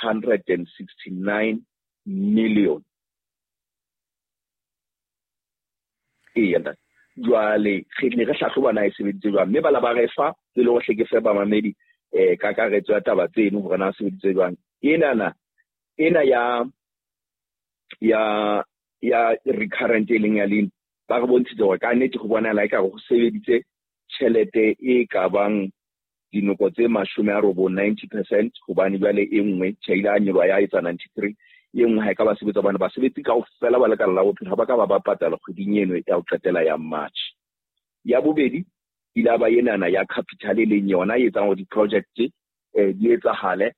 169 million. Eya ntate. Jwale re ne re hlahloba na e sebeditse jwang, mme ba la ba re fa e le hore hle ke fe bamamedi kakaretso ya taba tseno hore na sebeditse jwang. Enana ena ya ya ya recurrent e leng ya lean, ba re bontshitse hore ka nnete go bonahala ekare go sebeditse tjhelete e ka bang dinoko tse 90, 90%, hobane jwale e nngwe tjhe ile a nyoloha ya etsa 93, e nngwe ha e ka ba sebetsa hobane basebetsi kaofela ba lekala la bophelo ha ba ka ba ba patala kgweding eno ya ho qetela ya March. Ya bobedi ile ba enana ya capital e leng yona e etsang hore di-project di etsahale.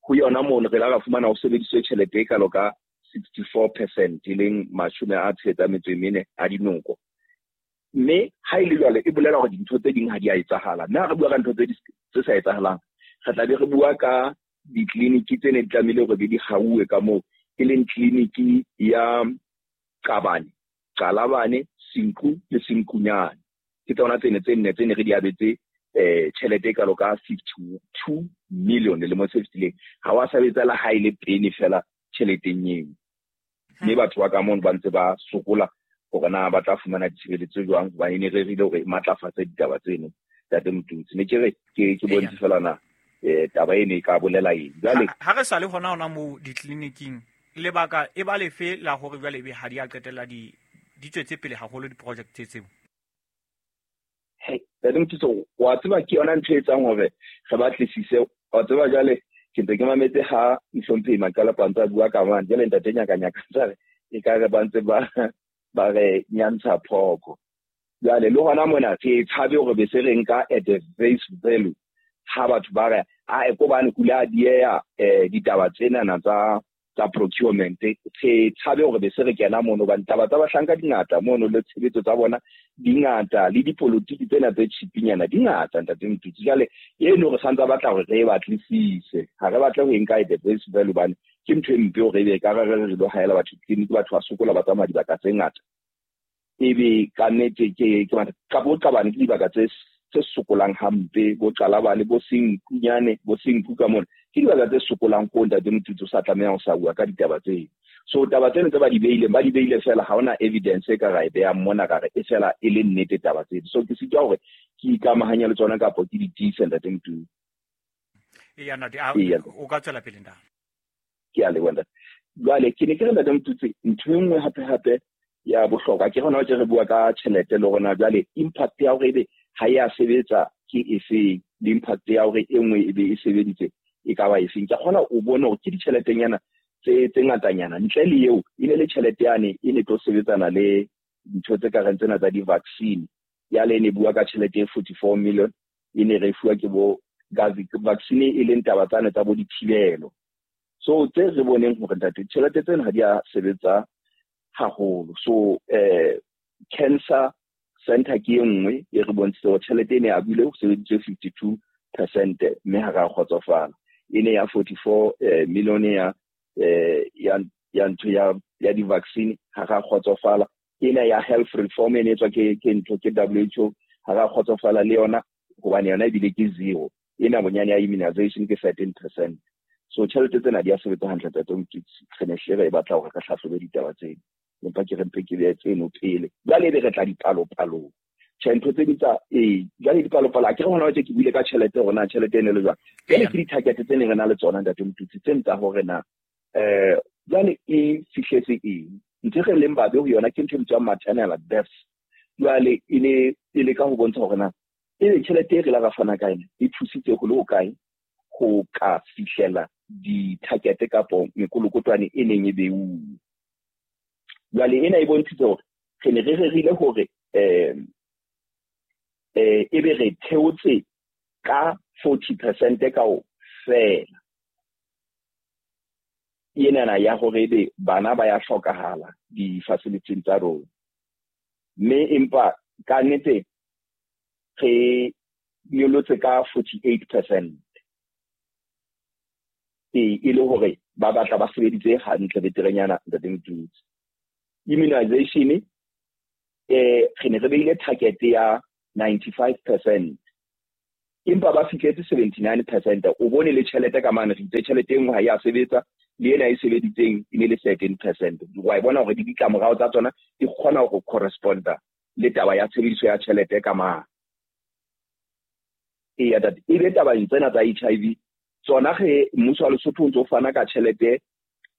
Ho yona mono re la ra fumana ho sebediswe tjhelete e kalo ka 64%, e leng 64 a dinoko. Mme ha e le jwalo e bolela hore dintho tse ding ha di a etsahala. Mme ha re bua ka ntho tse sa etsahalang, re tla be re bua ka ditleliniki tse ne di tlamehile hore di hauwe ka moo, e leng tleliniki ya Qabane, Qalabane, Senqu le Senqunyane. Ke tsona tsene tse nne tse ne re di abetse tjhelete e kalo ka 52 million lemo se fetileng. Ha wa sebetsa le ha e le pene fela tjheleteng eo. Mme batho ba ka mono ba ntse ba sokola hore na ba tla fumana ditshebeletso jwang, hobane e ne rerile hore e matlafatse ditaba tseno. Ntate Motutsi, ne ke re ke bontshe fela na taba eno e ka bolela eng. Jwale ha re sa le hona moo ditleliniking, lebaka e ba lefe la hore jwale ebe ha di a qetella di tswetse pele haholo di-project tseo? Hey, Ntate Motutsi, wa tseba ke yona ntho e etsang hore re batlisise. Wa tseba jwale ke ntse ke mametse ha Mohlomphehi Maqala ntse a bua ka mane. Jwale ntate Nyakanyaka ntse a re e ka re ba ntse ba re nyantsha phoko. Jwale le hona mona re tshabe hore be se re nka at the face value ha batho ba re a e kobane kula dieya ditaba tsenana tsa procurement. Re tshabe hore be se re kena mono hobane taba tsa bahlanka di ngata mono, le tshebetso tsa bona di ngata, le dipolotiki tsena tse chipinyana di ngata ntate Motutsi. Jwale eno re santsa batla hore re e batlisise, ha re batle ho e nka at the face value hobane ke ntho e mpe hore ebe ka re re lo haela batho tleliniki, batho ba sokola ba tsamaya dibaka tse ngata. Ebe ka nnete ke ka bo Qabane ke dibaka tse sokolang hampe, bo Qalabane, bo Senqunyane, bo Senqu ka mona ke dibaka tse sokolang ko ntate Motutsi o sa tlameha ho sa bua ka ditaba tseo. So taba tseno tse ba di beileng, ba di beile fela, ha hona evidence e ka ra e behang mona ka re e fela e le nnete taba tseno. So ke sitwa hore ke ikamahanye le tsona kapa ke di tiise ntate Motutsi. Eya ntate, o ka tswela pele ntate. Ke a leboha ntate. Jwale ke ne ke re ntate Motutsi, ntho e nngwe hape hape ya bohlokwa ke hona ke re bua ka tjhelete le rona jwale impact ya hore ebe ha ya sebetsa ke efeng, le impact ya hore e nngwe ebe e sebeditse e ka ba efeng. Ke kgona o bone hore ke ditjheletenyana tse ngatanyana, ntle le eo e ne le tjhelete yane e ne tlo sebetsana le dintho tse ka reng tsena tsa di-vaccine. Ya le ne bua ka tjhelete e 44 million e ne re fuwa ke bo vaccine e leng taba tsane tsa bo dithibelo. So tse re boneng hore ntate tjhelete tsena ha di a sebetsa haholo. So cancer center ke e nngwe e re bontshitse hore tjhelete e ne a buile ho sebeditswe 52% mme ha ra kgotsofala. E ne ya 44 million ya ya ntho ya di-vaccine ha ra kgotsofala. Ena ya health reform e ne etswa ke ntho ke WHO ha ra kgotsofala le yona hobane yona ebile ke zero. Ena bonyane ya immunization ke 13%. So tjhelete tsena di a sebetsa hantle ntate Motutsi. Re ne hle re batla hore re hlahlobe ditaba tseno, empa ke re mpe ke behe tseno pele. Jwale ebe re tla dipalopalong. Tjhe, ntho tse ding tsa jwale dipalopalo a ke re hona tje ke buile ka tjhelete hore na tjhelete e ne le jwang. Jwale ke di-target tse neng re na le tsona ntate Motutsi, tse tsa hore na jwale e fihletse eng. Ntho re leng babe ho yona ke ntho e bitswang maternal deaths. Jwale e ne e leka ho bontsha hore na ebe tjhelete e re la ra fana ka yona e thusitse ho le hokae ho ka fihlela di-target kapo mekolokotwane e neng e beuwe. Jwale ena e bontshitse hore re ne re rerile hore ebe re theotse ka 40% kaofela. Enana ya hore ebe bana ba ya hlokahala di-facility tsa rona. Mme empa ka nnete re nyolotse ka 48%. E le hore ba batla ba sebeditse hantle beterenyana ntate Motutsi. Immunization re ne re beile target ya 95%. Empa ba fihletse 79%. O bone le tjhelete ka mane, re itse tjhelete e nngwe ha ya sebetsa, le ena e sebeditseng e ne le 13%. Wa e bona hore di ditlamorao tsa tsona di kgona ho corresponda le taba ya tshebediso ya tjhelete ka mane. Eya tate, e be tabeng tsena tsa HIV tsona ge mmuso wa Lesotho o ntso fana ka tjhelete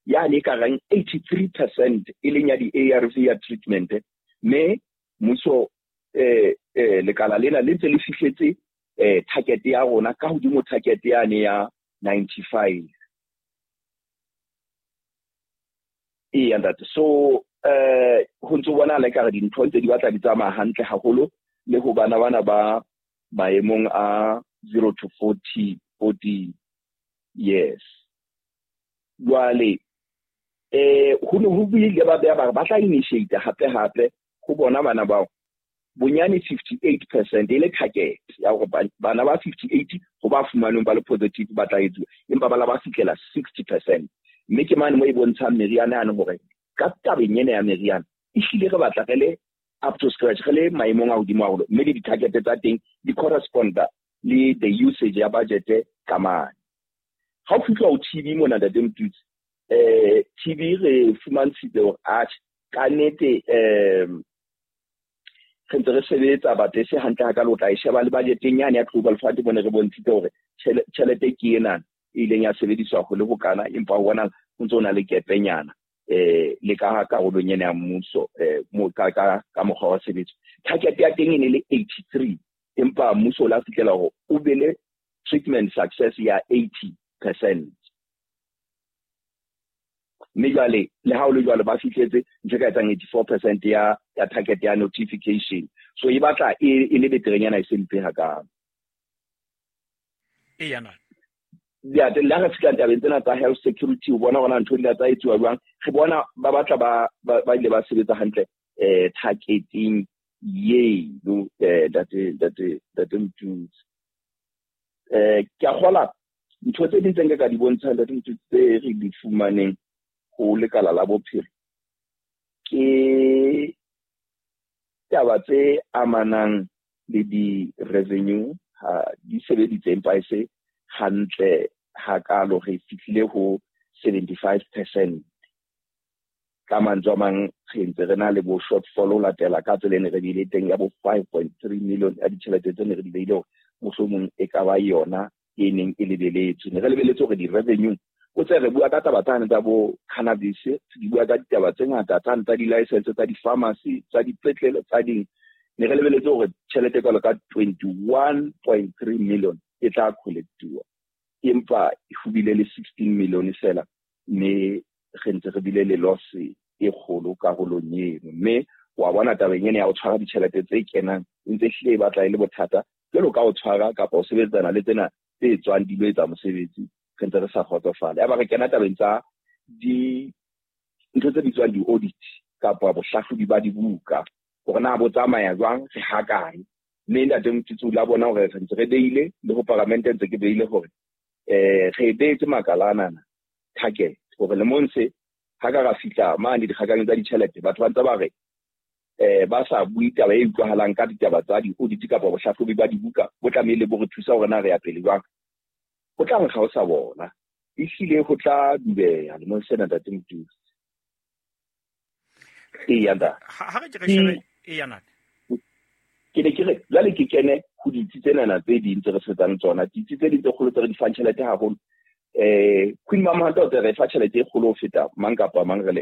yane e ka reng 83% e leng ya di-ARV ya treatment, mme mmuso lekala lena le ntse le fihletse target ya rona ka hodimo target yane ya 95. Eya ntate, so ho ntso bonahala ekare dintho ntse di batla di tsamaya hantle haholo le ho bana bana ba maemong a 0 to 40 years. Jwale ho ne ho buile ba beha ba tla initiate hape hape ho bona bana bao bonyane 58% e le target ya hore bana ba 58 ho ba fumanweng ba le positive ba tla etsuwa, empa ba la ba fihlela 60%. Mme ke mane mo e bontshang meriana yane hore ka tabeng ena ya meriana ehlile re batla re le up to scratch, re le maemong a hodimo haholo, mme le di-target tsa teng di corresponda le the usage ya budget ka mane. Ha o fihla ho TB mona ntate Mtutsi, TB re fumantshitse hore atjhe ka nnete re ntse re sebetsa batho e se hantle hakalo, o tla e sheba le budgeteng yane ya Global Fund mone re bontshitse hore tjhelete ke ena e ileng ya sebediswa ho le bokana, empa ho bona ho ntse ho na le kepenyana le ka karolong ena ya mmuso ka mokgwa wa tshebetso. Target ya teng e ne le 83, empa mmuso o la fihlela hore o be le treatment success ya 80%. Mme jwale le ha o le jwalo ba fihletse ntho e ka etsang 84% ya target ya notification. So e batla e le beterenyana e se mpe hakalo. Eya na. Ya le ha re fihla tabeng tsena tsa health security, o bona hore ntho di tsa etsuwa jwang, re bona ba batla ba ile ba sebetsa hantle targeting eno ntate Mtutsi. Ke a kgola ntho tse ding tse nka ka di bontshang ntate Mtutsi tse re di fumaneng ho lekala la bophelo ke taba tse amanang le di-revenue ha di sebeditse empa e se hantle hakalo, re fihlile ho 75%. Ka mantswe a mang re ntse re na le bo shortfall ho latela ka tsela e ne re bile teng ya bo 5.3 million ya ditjhelete tse ne re di beile hore mohlomong e ka ba yona e neng e lebeletswe. Ne re lebeletse hore di-revenue o tse re bua ka taba tsane tsa bo cannabis, di bua ka ditaba tse ngata tsane tsa di-license tsa di-pharmacy tsa dipetlele tsa ding. Ne re lebeletse hore tjhelete e kalo ka 21.3 million e tla collectuwa, empa ho bile le 16 million fela, mme re ntse re bile le loss e kgolo karolong eno. Mme wa bona tabeng ena ya ho tshwara ditjhelete tse kenang e ntse ehlile e batla e le bothata jwalo ka ho tshwara kapa ho sebetsana le tsena tse tswang di lo etsa mosebetsi, re ntse re sa kgotsofala. Yaba re kena tabeng tsa dintho tse bitswang di-audit kapa bohlahlobi ba dibuka hore na bo tsamaya jwang, re hakae. Mme ntate Mtutsi o la bona hore re ntse re beile le ho paramente ntse ke beile hore re beetse makala anana target hore lemong se ha ka ra fihla mane dikgakanyong tsa ditjhelete, batho ba ntse ba re ba sa bue taba e utlwahalang ka ditaba tsa di-audit kapa bohlahlobi ba dibuka bo tlamehile bo re thusa hore na re ya pele jwang. Ho tla nkga ho sa bona, ehlile ho tla dubeha lemong sena ntate Mtutsi. Eya ntate. Ha re ke re shebe eya ntate. Ke ne ke re jwale ke kene ho ditsi tsenana tse ding tse re sebetsang tsona, ditsi tse ding tse kgolo tse re di fang tjhelete haholo. Queen Mamohato o re fa tjhelete e kgolo ho feta mang kapa mang re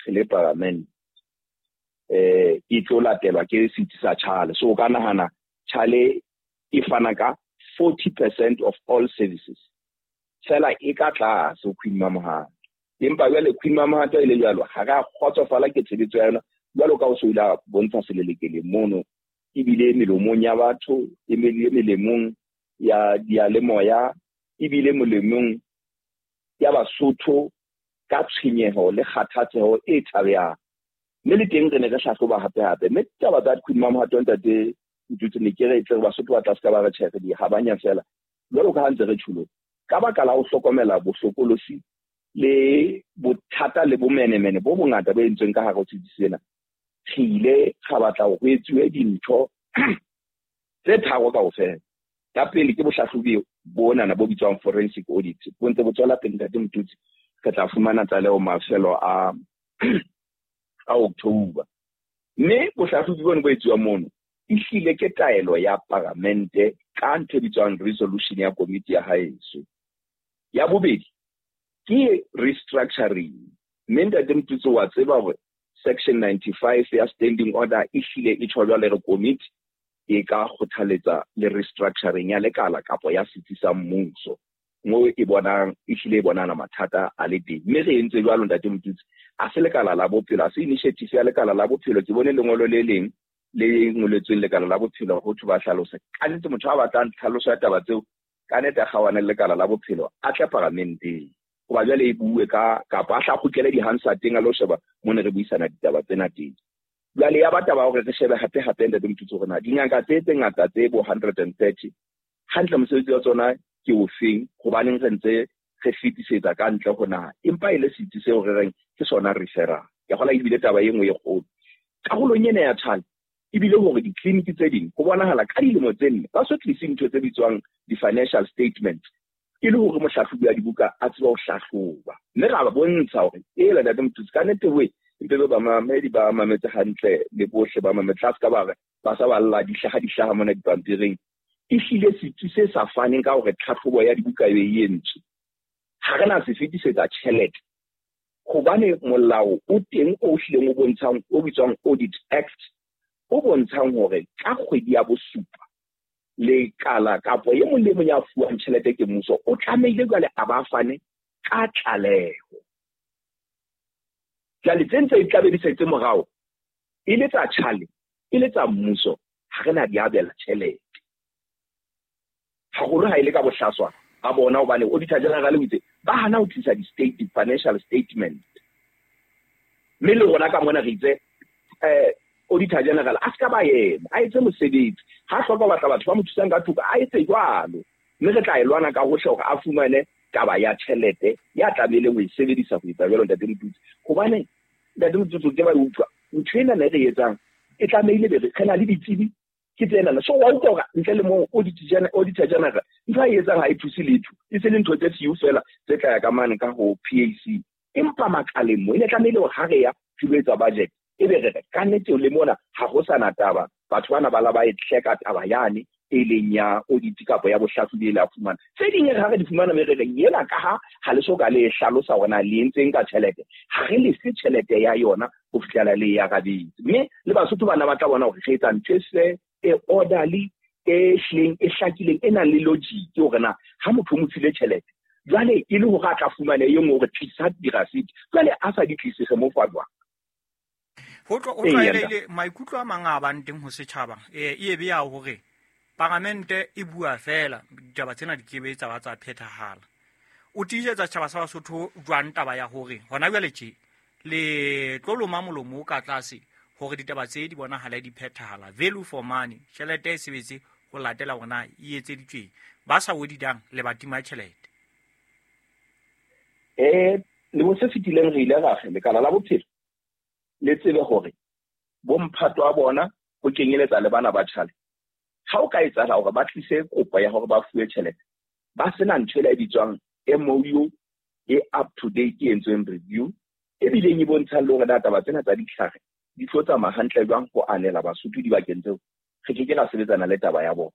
le parliament. E tlo latelwa ke setsi sa Chale. So o ka nahana Chale e fana ka 40% of all services. Fela e ka tlase ho Queen Mamohato. Empa jwale Queen Mamohato e le jwalo, ha re a kgotsofala ke tshebetso ya yona jwalo ka ho so ile a bontsha selelekele mono, ebile melomong ya batho, ebile melemong ya diyalemoya, ebile molemong ya Basotho ka tshwenyeho le kgathatseho e tshabehang. Mme le teng re ne re hlahloba hape hape. Mme taba tsa Queen Mamohato ntate Mtutsi ne ke re tle Basotho ba tla se ka ba re tjhe re di habanya fela. Jwalo ka ha ntse re tjhulo, ka baka la ho hlokomela bohlokolosi le bothata le bomenemene bo bongata bo entsweng ka hare ho setsi sena, re ile ra batla hore ho etsuwe dintho tse tharo kaofela. Ya pele ke bohlahlobi bonana bo bitswang forensic audit, bo ntse bo tswela pele Ntate Motutsi. Re tla fumana tlaleho mafelo a October. Mme bohlahlobi bona bo etsuwa mono ehlile ke taelo ya paramente ka ntho e bitswang resolution ya komiti ya haeso. Ya bobedi ke restructuring. Mme Ntate Motutsi wa tseba hore section 95 ya standing order ehlile e tjho jwale re komiti e ka kgothaletsa le restructuring ya lekala kapa ya setsi sa mmuso mo e bonang ehlile e bonana mathata a le teng. Mme re entse jwalo Ntate Motutsi, a se lekala la bophelo, a se initiative ya lekala la bophelo. Ke bone lengolo le leng le ngoletsweng lekala la bophelo ho thwe ba hlalosa. Ka nnete motho a batlang tlhaloso ya taba tseo, ka nnete a kgaohane le lekala la bophelo, a tle paramenteng. Hoba jwale e bue ka kapa a hla kgutlele di-Hansardeng a lo sheba mo ne re buisana ditaba tsena teng. Jwale ya ba taba hore re shebe hape hape Ntate Motutsi hore na dingaka tse tse ngata tse bo 130 hantle mosebetsi wa tsona ke ofeng, hobaneng re ntse re fetisetsa ka ntle ho naha, empa e le setsi seo re reng ke sona referral. Ke kgola ebile taba e nngwe e kgolo karolong ena ya Tshwane ebile hore ditleliniki tse ding ho bonahala ka dilemo tse nne ba so tlise ntho tse bitswang di-financial statements e le hore mohlahlobi wa dibuka a tsebe ho hlahloba. Mme ra ba bontsha hore ela Ntate Motutsi ka nnete we mpe be bamamedi ba mametse hantle le bohle ba mametse, tla se ka ba re ba sa balla di hlaha mona dipampiring. Ehlile setsi se sa faneng ka hore tlhahlobo ya dibuka e be e entswe, ha re na se fetisetsa tjhelete hobane molao o teng o hlileng o bontshang o bitswang Audit Act o bontshang hore ka kgwedi ya bosupa lekala kapo e mong le mong ya fuwang tjhelete ke mmuso o tlamehile jwale a ba fane ka tlaleho. Jwale tse ntse di tlabe di setse morao e le tsa tjhale e le tsa mmuso, ha re na di abela tjhelete haholo ha e le ka bohlaswa a bona, hobane Auditor General o itse ba hana ho tlisa di-state financial statement. Mme le rona ka mona re itse Auditor General a ska ba yena a etse mosebetsi, ha hloka ho batla batho ba mo thusang ka thoko a etse jwalo, mme re tla e lwana ka hohle hore a fumane taba ya tjhelete ya tlamehileng ho e sebedisa ho etsa jwalo Ntate Motutsi. Hobane Ntate Motutsi ke ba utlwa ntho ena ne re etsang e tlamehile be re na le ditsebi ke tsena. So wa utlwa hore ntle le moo Auditor General ntho a e etsang ha e thuse letho, e se le ntho tse few fela tse tla ya ka mane ka ho PAC. Empa makaleng mo e ne tlamehile hore ha re ya re lo etsa budget e be re re ka nnete le mona ha ho sana taba, batho bana ba la ba e hleka taba yane e leng ya audit kapa ya bohlahlobi e le a fumana. Tse ding ha re di fumana me re re yela ka ha le so ka le hlalosa hore na le entseng ka tjhelete, ha re lefe tjhelete ya yona ho fihlela le ya rabetse. Mme le Basotho bana ba tla bona hore re etsa ntho e fair, e orderly, e hlileng e hlakileng, e nang le logic hore na ha motho o mo file tjhelete jwale e le hore a tla fumane e nngwe hore tlisa dirasiti, jwale a sa di tlise re mo fa jwang? Ho tlwaelehile maikutlo a mang a bang teng ho setjhaba e be ya hore paramente e bua fela ditaba tsena di kebe tsa ba tsa phethahala. O tiisetsa setjhaba sa Basotho jwang taba ya hore hona jwale tje le tlo loma molomo ka tlase hore ditaba tse di bonahala di phethahala, value for money, tjhelete e sebetse ho latela hore na e etseditsweng, ba sa oditang le ba tima tjhelete. Lemo se fetileng re ile ra re lekala la bophelo le tsebe hore bomphato wa bona ho kenyeletsa le bana ba tjhale, ha o ka etsahala hore ba tlise kopo ya hore ba fuwe tjhelete ba sena ntho e bitswang MOU e up to date e entsweng review e bileng e bontshang le hore na taba tsena tsa ditlhare di tlo tsamaya hantle jwang ho anela Basotho dibakeng tseo, re ke ke ra sebetsana le taba ya bona.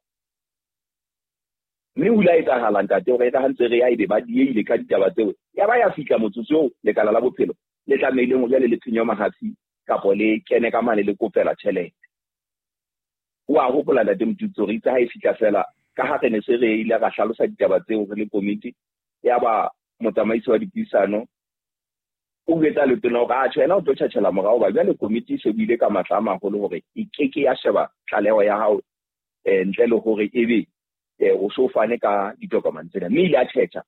Mme ho ile ha etsahala ntate hore e ka ha ntse re ya ebe ba dieile ka ditaba tseo, ya ba ya fihla motsotso oo lekala la bophelo le tlamehileng ho jwale le phenyo mahafi kapo le kene ka mane le kopela tjhelete. O a hopola Ntate Motutsi hore itse ha e fihla fela ka ha re ne se re ile ra hlalosa ditaba tseo re le komiti, ya ba motsamaisi wa dipuisano o jwetsa letona hore atjhe yena o tlo tjhatjhela morao, hoba jwale komiti e shebile ka matla a maholo hore e keke ya sheba tlaleho ya hao ntle le hore ebe o so fane ka ditokomane tsena. Mme ile a tjhetjha.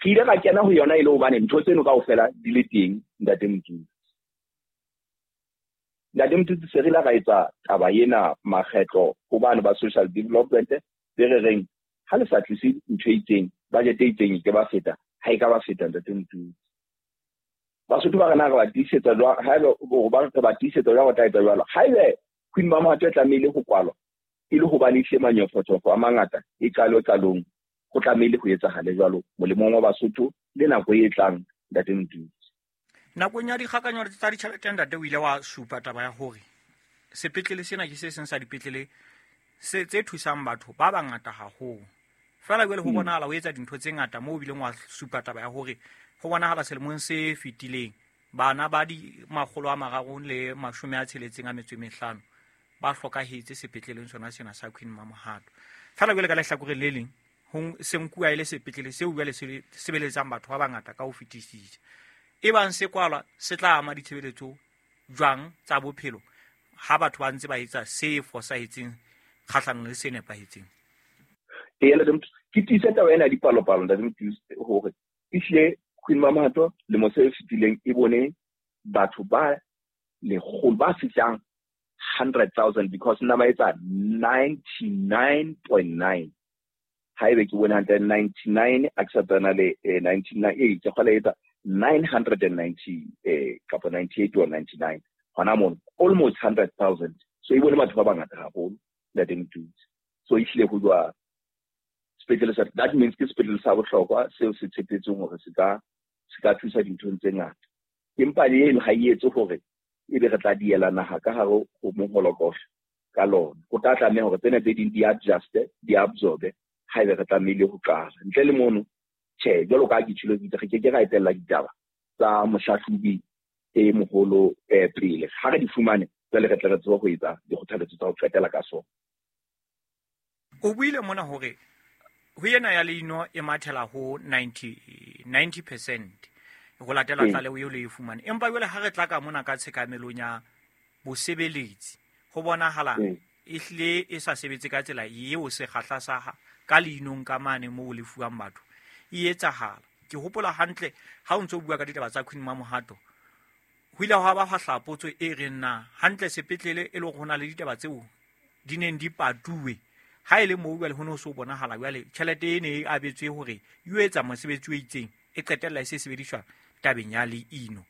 Re ile ra kena ho yona e le hobane ntho tseno kaofela di le teng Ntate Motutsi. Ntate Motutsi se re ile ra etsa taba ena makgetlo hobane ba social development be re reng ha le sa tlise ntho e itseng, budget e itseng e ke ba feta, ha e ka ba feta Ntate Motutsi. Basotho ba rena re ba tiisetsa jwang, haebe ba re ba tiisetsa jwang ho tla etsa jwalo. Haebe Queen Mamohato e tlamehile ho kwalwa, E le hobane ehlile manyofonyofo a mangata e qalo qalong ho tlamehile ho etsahale jwalo molemong wa Basotho le nako e tlang, Ntate Motutsi. Nakong ya dikgakanyo tsa ditjhelete, ntate, o ile wa supa taba ya hore sepetlele sena ke se seng sa dipetlele se tse thusang batho ba bangata haholo. Feela jwale ho bonahala ho etsa dintho tse ngata moo o bileng wa supa taba ya hore ho bonahala selemong se fetileng bana ba di 365 ba hlokahetse sepetleleng sona sena sa Queen Mamohato. Feela jwale ka lehlakoreng le leng ho se nkuwa e le sepetlele seo jwale se sebeletsang batho ba bangata ka ho fetisisa. E bang se kwalwa se tla ama ditshebeletso jwang tsa bophelo ha batho ba ntse ba etsa se fosahetseng kgahlanong le se nepahetseng? Eya, Ntate Motutsi, ke tiise taba ena ya dipalopalo, Ntate Motutsi, hore ehlile Queen Mamohato lemo se fetileng e bone batho ba lekgolo ba fihlang 100,000, because nna ba etsa 99.9, haebe ke bone hantle 99, a ke sa tsena le 99, ee, ke kgola etsa 990 kapa 98 or 99 hona mono, almost 100,000. So e bone batho ba bangata haholo, Ntate Motutsi. So ehlile ho jwa sepetlele sa, that means ke sepetlele sa bohlokwa seo se tshepetseng hore se ka thusa dinthong tse ngata. Empa le eno ha e etse hore ebe re tla diela naha ka hare ho moholokosho ka lona. Ho tla tlameha hore tsena tse ding di adjuste, di absorbe haebe re tlamehile ho qala. Ntle le mono, tjhe, jwalo ka ha ke tjholo ke itse, re keke ra etella ditaba tsa mohlahlobi e moholo pele. Ha re di fumane, jwale re tle re tsebe ho etsa dikgothaletso tsa ho qetela ka sona. O buile mona hore ho ena ya leino e mathela ho 90% ho latela tlaleho eo le e fumane. Empa jwale ha re tla ka mona ka tshekamelong ya bosebeletsi, ho bonahala ehlile e sa sebetse ka tsela eo sekgahla sa ka leinong ka mane moo le fuwang batho e etsahala. Ke hopola hantle ha o ntso bua ka ditaba tsa Queen Mamohato, ho ile hwa ba hwa hlaha potso e reng na hantle sepetlele e le hore ho na le ditaba tseo di neng di patuwe, ha e le moo jwale ho ne ho so bonahala jwale tjhelete e ne e abetswe hore e yo etsa mosebetsi o itseng, e qetella e se sebediswa tabeng ya leino.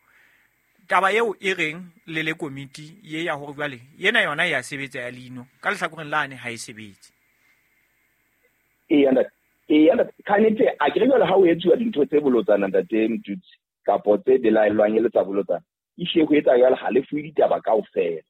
Taba eo e reng le le komiti ye ya hore jwale ena yona e ya sebetsa ya leino, ka lehlakoreng lane ha e sebetse. Eya, ntate. Eya, ntate. Ka nnete, a ke re jwale ha o etsuwa dintho tse bolotsana, Ntate Motutsi, kapo tse belaellwang e le tsa bolotsana, ehlile ho etsa jwale ha le fuwe ditaba kaofela.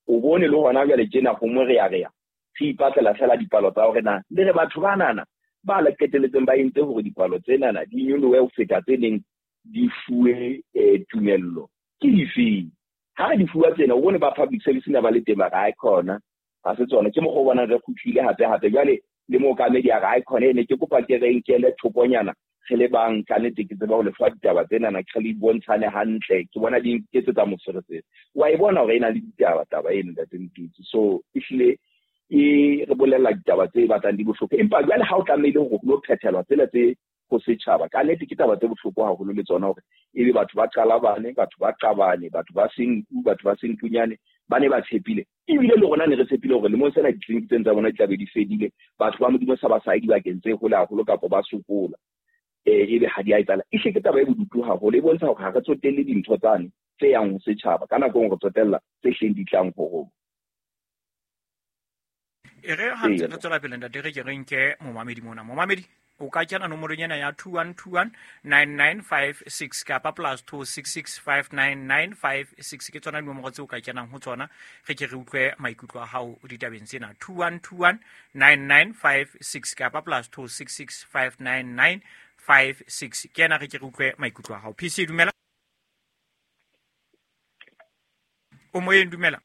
O bone le hona jwale tjena ho morearea, re ipatlela fela dipalo tsa hore na le re batho ba nana ba le qeteletseng ba entse hore dipalo tsenana di nyolohe ho feta tse neng di fuwe tumello ke difeng. Ha re di fuwa tsena, o bone ba public service na ba le teng ba re, "Hae khona, ha se tsona." Ke mokgwa o bonang re kgutlile hape hape jwale le mookamedi a re, "Hae khona, e ne ke kopa ke re nkele thokonyana re le bang, ka nnete ke tseba ho le fa ditaba tsenana, ke re le bontshane hantle, ke bona di nketsetsa moferefere." Wa e bona hore e na le ditaba taba eno, Ntate Motutsi. So ehlile e re bolella ditaba tse batlang di bohloko, empa jwale ha o tlamehile hore ho lo phethelwa tsela tse ho setjhaba, ka nnete ke taba tse bohloko haholo le tsona, hore ebe batho ba qalabane, batho ba qabane, batho ba senku, batho ba senkunyane ba ne ba tshepile, ebile le rona ne re tshepile hore lemong sena ditleliniki tsena tsa bona di tla be di fedile, batho ba Modimo sa ba sa ye dibakeng tse hole haholo kapa ba sokola, ebe ha di a etsahala. Ehlile ke taba e bodutu haholo, e bontsha hore ha re tsotelle dintho tsane tse yang ho setjhaba, ka nako e nngwe re tsotella tse hleng di tlang ho rona. E re ha ntse re tswela pele, ntate, re ke re nke momamedi mona. Momamedi, o ka kena nomorong ena ya 21219956 kapa +266 59956, ke tsona dinomoro tseo o ka kenang ho tsona, re ke re utlwe maikutlo a hao ditabeng tsena. 21219956 kapa +266 59956, ke ena, re ke re utlwe maikutlo a hao. PC, dumela, o moyeng, dumela.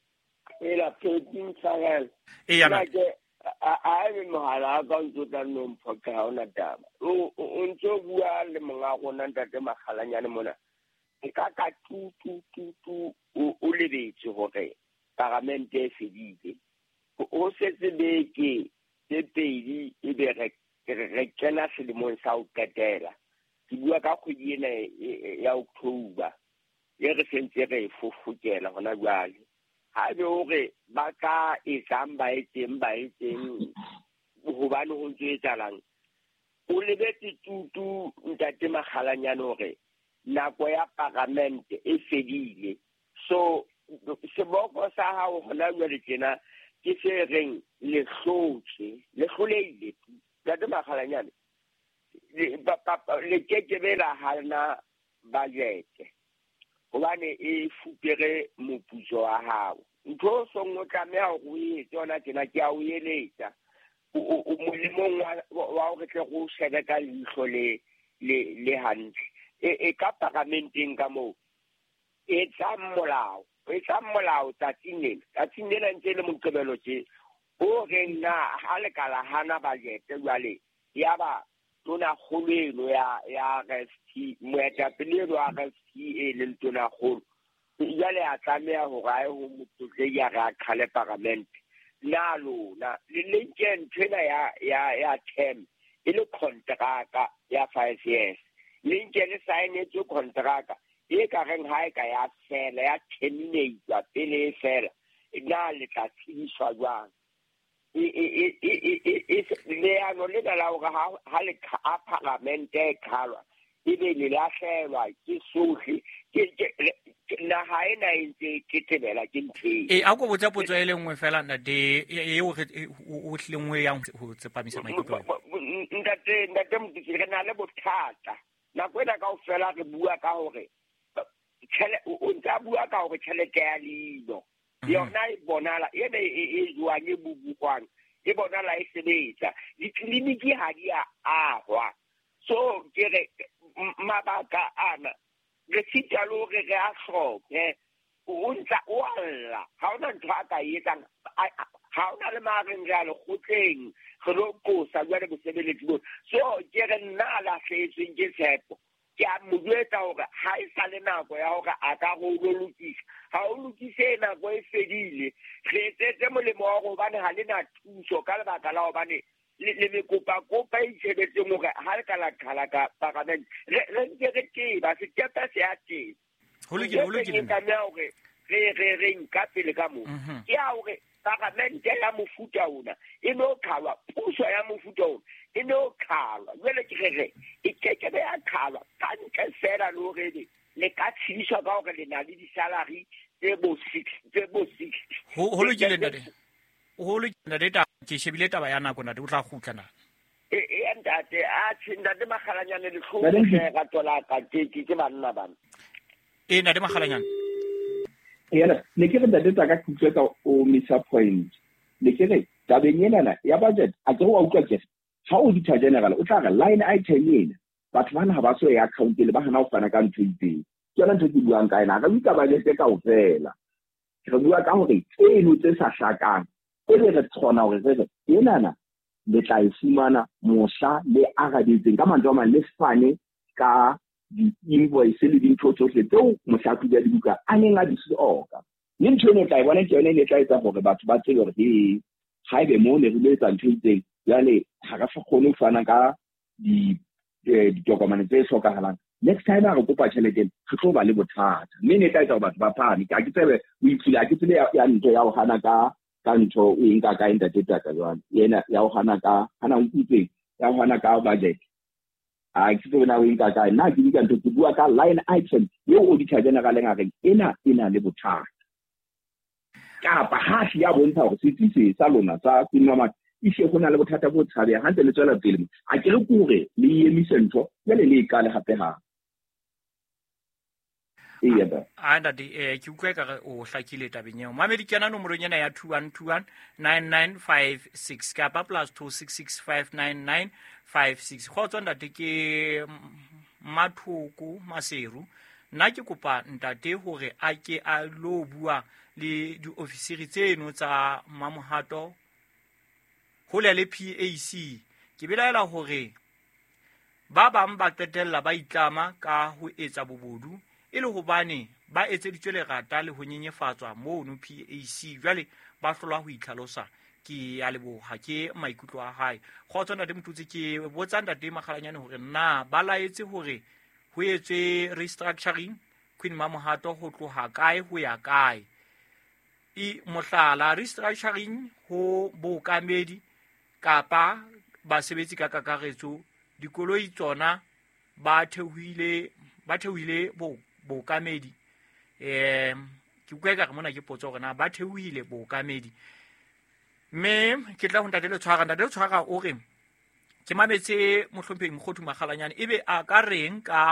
Ela Peting Tshwarelo. Eya. Nna ke a ebe mohala wa ka o ntso tla nno mphoqa, ha hona taba. O ntso bua le monga rona Ntate Makgalanyane mona. Nka ka tu tu tu tu o lebetse hore paramente e fedile. Ho setse beke tse pedi ebe re kena selemong sa ho qetela. Ke bua ka kgwedi ena ya October e re sentse re e fofokela hona jwale. Ha ebe hore ba ka etsang, ba etseng, ba etseng, hobane ho ntso etsahalang. O lebetse tutu, Ntate Makgalanyane, hore nako ya paramente e fedile. So seboko sa hao hona jwale tjena Ke se reng le hlotse, le hloleile. Ntate Makgalanyane, le kekebe la hana budget hobane e fupere moputso wa hao. Ntho o song o tlameha hore o etse yona tjena, ke a o eletsa. O molemong wa hore tle re o shebe ka leihlo le hantle. E ka paramenteng ka moo, etsang molao. Etsang molao tsatsing lena. Tsatsing lena ntse le Moqebelo tje. O reng na ha le ka la hana budget jwale, ya ba tonakgolo eno ya RFT, moetapele eno wa RFT e leng tonakgolo, jwale a tlameha hore a ye ho motlotlehi a re a qhale paramente. Na lona le nke ntho ena ya term e le kontraka ya 5 years. Le nke le saenetswe kontraka e ka reng ha e ka ya fela, ya terminate pele e fela, na le tla tsebiswa jwang? Leano lena la hore ha le ha paramente e qhalwa, ebe le lahlehelwa ke sohle, naha ena e ntse e tetebela ke ntho eo. E, a ko botsa potso e le nngwe fela, ntate, eo o hlileng o yang ho tsepamisa maikutlo. Ntate Motutsi, re na le bothata. Nako ena kaofela re bua ka hore o ntse a bua ka hore tjhelete ya leino yona e bonala ene e jwang e bubukwang, e bonala e sebetsa. Ditleliniki ha di a ahwa. So ke re mabaka ana re sita le hore re a hloke. O ntsa o alla, ha hona ntho a ka e etsang. Ha hona le mareng re a lekgotleng, re lo qosa jwale bosebeletsi bona. So ke re nna a lahlehetsweng ke tshepo, ke a mo jwetsa hore ha e sa le nako ya hore a ka re o lo lokisa. Ha o lokise, nako e fedile. Re etsetse molemo wa hore hobane ha le na thuso ka lebaka la hobane le mekopakopa e itshebetseng hore ha le ka la qhala ka paramente, re ntse re teba, sekepe se a teba. Ho lokile, ho lokile. Ke tlameha hore re nka pele ka moo. Ke ya hore paramente ya mofuta ona e no qhalwa, puso ya mofuta ona e no qhalwa. Jwale ke re e kekebe ya qhalwa ka ntle fela le hore le ka tshediswa ka hore le na le di-salary tse bo six, tse bo six. Ho lokile, ntate. Ho lokile, ntate. Ke shebile taba ya nako, ntate, o tla kgutla na? E, ntate, a tjhe, ntate Makgalanyane, le hlomphe rato la ka, ke banna bana. E, ntate Makgalanyane. Yena, ne ke re ntate Taka ke utlwe ka o missa point. Ne ke re tabeng enana ya budget, a ke wa utlwa ke ha Auditor General o tla re line item ena, batho bana ha ba so ya account le ba hana ho fana ka ntho e itseng. Ke yona ntho ke buang ka ena, re bua ka budget kaofela. Re bua ka hore tseno tse sa hlakang, e be re kgona hore re re enana le tla e fumana mohla le arabetseng ka mantswe a mang, le fane ka di-invoice le dintho tsohle tseo mohlahlobi wa dibuka a neng a di hloka. Mme ntho eno o tla e bona ke yona e ne e tla etsa hore batho ba tsebe hore he, haebe moo ne re lo etsa ntho e itseng, jwale ha re sa kgone ho fana ka ditokomane tse hlokahalang. Next time ha re kopa tjhelete ena, re tlo ba le bothata. Mme e ne e tla etsa hore batho ba phahame. Ha ke tsebe, o itlile, ha ke tsebe ya ntho ya ho hana ka ntho o e nka kae, ntate Taka jwale. Ena ya ho hana ka, hana o nkutlweng, ya ho hana ka budget. Ha ke tsebe na o e nka kae. Nna ke bua ntho, ke bua ka line item eo Auditor General a reng ena e na le bothata. Kapa ha se ya bontsha hore setsi se sa lona sa Queen ehlile ho na le bothata bo tshabehang, ha ntse le tswela pele. A ke re ke hore le emise ntho, jwale le e qale hape hape. Eya, ba. A ntate, ke utlwa ekare o hlakile tabeng eo. Mamedi, kena nomorong ena ya 21219956 kapa plus 26659956. Kgotso ntate, ke Mathoko Maseru. Nna ke kopa ntate hore a ke a lo bua le diofisiri tseno tsa Mamohato hole le PAC. Ke belaela hore ba bang ba qetella ba itlama ka ho etsa bobodu e le hobane ba etseditswe lerata le ho nyenyefatswa mono PAC. Jwale ba hlolwa ho itlhalosa. Ke a leboha, ke maikutlo a hae. Kgotso ntate Motutsi, ke botsa ntate Makgalanyane hore na ba laetse hore ho etswe restructuring Queen Mamohato ho tloha kae ho ya kae. E mohlala, restructuring ho bookamedi kapa basebetsi ka kakaretso, dikoloi tsona ba theohile, ba theohile bookamedi. Ke utlwa ekare mona ke potso hore na ba theohile bookamedi. Mme ke tla ho Ntate Letshwara. Ntate Letshwara o re ke mametse Mohlomphehi Mokgothu Makgalanyane, ebe a ka reng ka